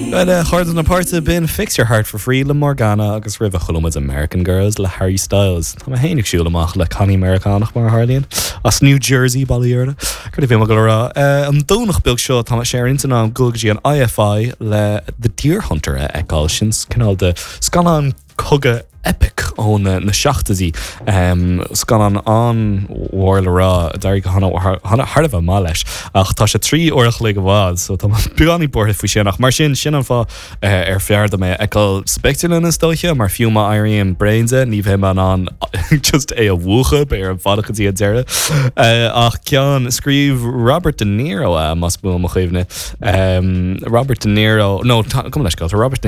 Bhuel, a chairde na páirte, b'in Fix Your Heart For Free le Morgana agus roimhe chuala muid American Girls le Harry Styles. Tá mé féin ag siúl amach le cailín Meiriceánach mar a tharlaíonn, as New Jersey, bail ó Dhia uirthi. Céard a bhí mé ag dul a rá? An Domhnach beag seo tá sé ar intinn agam dul go dtí an IFI le The Deer Hunter a fheiceáil. Sin cineál de scannán cogaidh epic ó na seachtóidí. Scannán an-mhór le rá, d'éirigh go thar a bheith maith leis, ach tá sé 3 uair a chloig i bhfad, so tá mé beagáinín buartha faoi sin. Ach mar sin, sin an fáth ar fearr dom é a fheiceáil sa bpictiúrlann is dóiche, mar fiú má éirím bréan de, ní bheidh mé in ann just é a mhúchadh, beidh orm fanacht go dtí an deireadh. Ach ceann, scríobh Robert De Niro é, más buan mo chuimhne. Robert De Niro, nó, gabh mo leithscéal, tá Robert De.